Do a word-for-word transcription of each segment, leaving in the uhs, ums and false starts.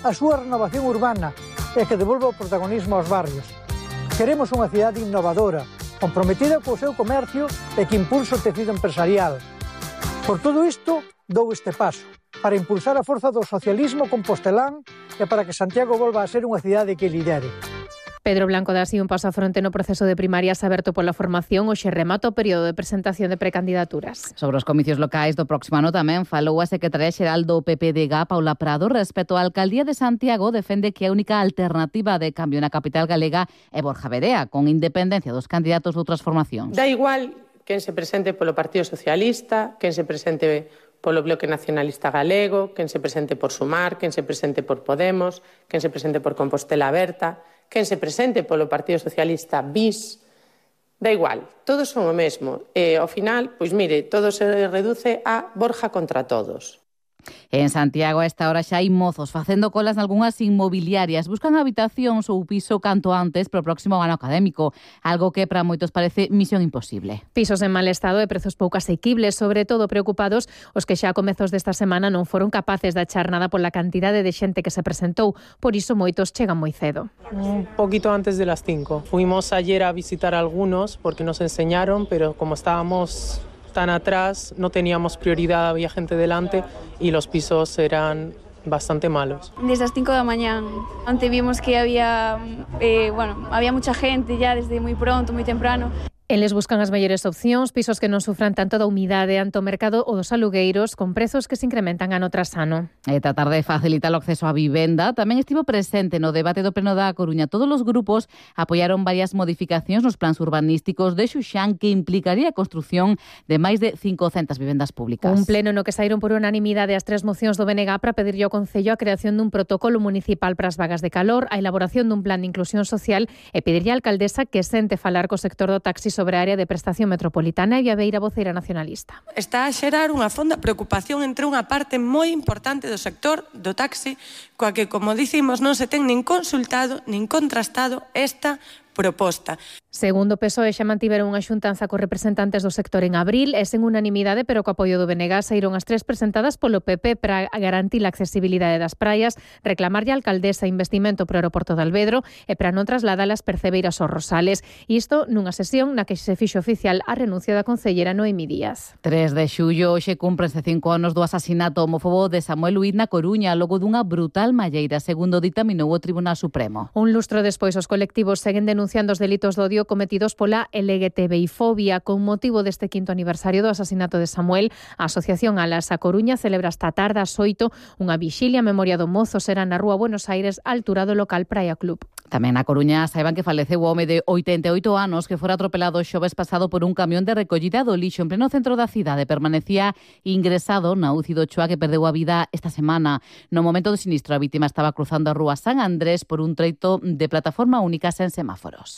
a súa renovación urbana e que devolva o protagonismo aos barrios. Queremos unha cidade innovadora, comprometida co seu comercio e que impulse o tecido empresarial. Por todo isto, dou este paso, para impulsar a forza do socialismo compostelán e para que Santiago volva a ser unha cidade que lidere. Pedro Blanco dá así un paso a fronte no proceso de primarias aberto pola formación. Hoxe remata o período de presentación de precandidaturas. Sobre os comicios locais do próximo ano tamén falou a secretaria xeral do P P D G, Paula Prado. Respecto á alcaldía de Santiago, defende que a única alternativa de cambio na capital galega é Borja Verea, con independencia dos candidatos de outras formacións. Da igual quen se presente polo Partido Socialista, quen se presente polo Bloque Nacionalista Galego, quen se presente por Sumar, quen se presente por Podemos, quen se presente por Compostela Aberta, quen se presente polo Partido Socialista bis, da igual, todos son o mesmo. E ao final, pois mire, todo se reduce a Borja contra todos. En Santiago a esta hora xa hai mozos facendo colas nalgunhas inmobiliarias. Buscan habitacións ou piso canto antes para o próximo ano académico, algo que para moitos parece misión imposible. Pisos en mal estado e prezos pouco asequibles, sobre todo preocupados os que xa a comezos desta semana non foron capaces de achar nada pola cantidade de xente que se presentou. Por iso moitos chegan moi cedo. Un poquito antes de las cinco. Fuimos ayer a visitar algunos porque nos enseñaron, pero como estábamos tan atrás, no teníamos prioridad, había gente delante y los pisos eran bastante malos. Desde las cinco de la mañana, antes vimos que había, eh, bueno, había mucha gente ya desde muy pronto, muy temprano. Eles buscan as mellores opcións, pisos que non sufran tanto da humidade ante o mercado ou dos alugueiros, con prezos que se incrementan ano tras ano. E tratar de facilitar o acceso á vivenda tamén estivo presente no debate do Pleno da Coruña. Todos os grupos apoiaron varias modificacións nos plans urbanísticos de Xuxán que implicaría a construción de máis de cincocentas vivendas públicas. Un pleno no que saíron por unanimidade as tres mocións do B N G para pedirlle ao Concello a creación dun protocolo municipal para as vagas de calor, a elaboración dun plan de inclusión social e pedirlle á alcaldesa que sente falar co sector do taxi sobre a área de prestación metropolitana. E a Beira, voceira nacionalista. Está a xerar unha fonda preocupación entre unha parte moi importante do sector do taxi, coa que, como dicimos, non se ten nin consultado nin contrastado esta proposta. Segundo o P S O E, xa mantiveron unha xuntanza cos representantes do sector en abril e sen unanimidade, pero co apoio do B N G saíron as tres presentadas polo P P para garantir a accesibilidade das praias, reclamarlle a alcaldesa investimento pro aeroporto de Alvedro e para non trasladar as percebeiras aos Rosales. Isto nunha sesión na que se fixo oficial a renuncia da concellera Noemi Díaz. tres de xullo, hoxe cúmprense cinco anos do asasinato homófobo de Samuel Huid na Coruña, logo dunha brutal malleira, segundo ditaminou o Tribunal Supremo. Un lustro despois, os colectivos seguen denunciando os delitos de odio cometidos pola L G T B I fobia. Con motivo deste quinto aniversario do asasinato de Samuel, a Asociación Alas a Coruña celebra esta tarde ás oito unha vixilia a memoria do mozo. Será na Rúa Buenos Aires, á altura do local Praia Club. Tamén na Coruña saiban que faleceu o home de oitenta e oito anos que fora atropelado o xoves pasado por un camión de recollida do lixo en pleno centro da cidade. Permanecía ingresado na U C I do Choa, que perdeu a vida esta semana. No momento do sinistro, a vítima estaba cruzando a Rúa San Andrés por un treito de plataforma única sen semáforos.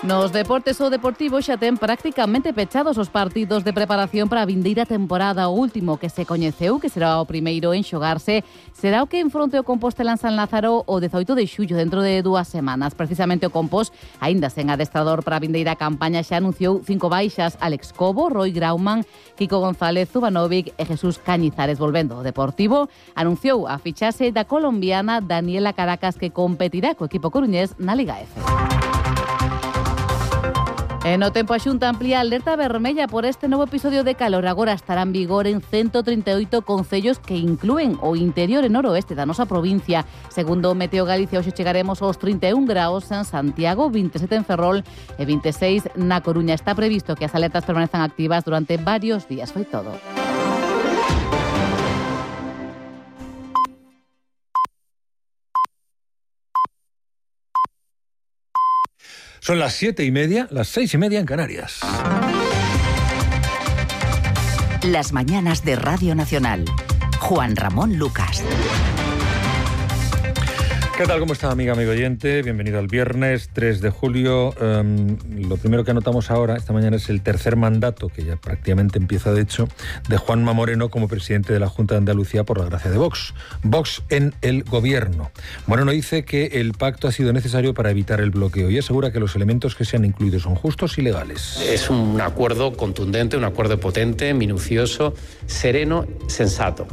Nos deportes, o Deportivo xa ten prácticamente pechados os partidos de preparación para a vindeira temporada. O último que se coñeceu, que será o primeiro en xogarse, será o que enfronte o Compostela en San Lázaro o dezaoito de xullo, dentro de dúas semanas. Precisamente o Compos, aínda sen adestrador para a vindeira campaña, xa anunciou cinco baixas: Alex Cobo, Roy Grauman, Kiko González, Zubanovic e Jesús Cañizares. Volvendo, o Deportivo anunciou a fichaxe da colombiana Daniela Caracas, que competirá co equipo coruñés na Liga F. E no tempo, a Xunta amplía a alerta vermella por este novo episodio de calor. Agora estará en vigor en ciento trinta e oito concellos que inclúen o interior e noroeste da nosa provincia. Segundo Meteo Galicia, hoxe chegaremos aos trinta e un graus en Santiago, vinte e sete en Ferrol e vinte e seis na Coruña. Está previsto que as alertas permanezan activas durante varios días. Foi todo. Son las siete y media, las seis y media en Canarias. Las mañanas de Radio Nacional. Juan Ramón Lucas. ¿Qué tal? ¿Cómo está, amiga, amigo oyente? Bienvenido al viernes tres de julio. Um, lo primero que anotamos ahora, esta mañana, es el tercer mandato, que ya prácticamente empieza, de hecho, de Juanma Moreno como presidente de la Junta de Andalucía por la gracia de Vox. Vox en el gobierno. Moreno dice que el pacto ha sido necesario para evitar el bloqueo y asegura que los elementos que se han incluido son justos y legales. Es un acuerdo contundente, un acuerdo potente, minucioso, sereno, sensato.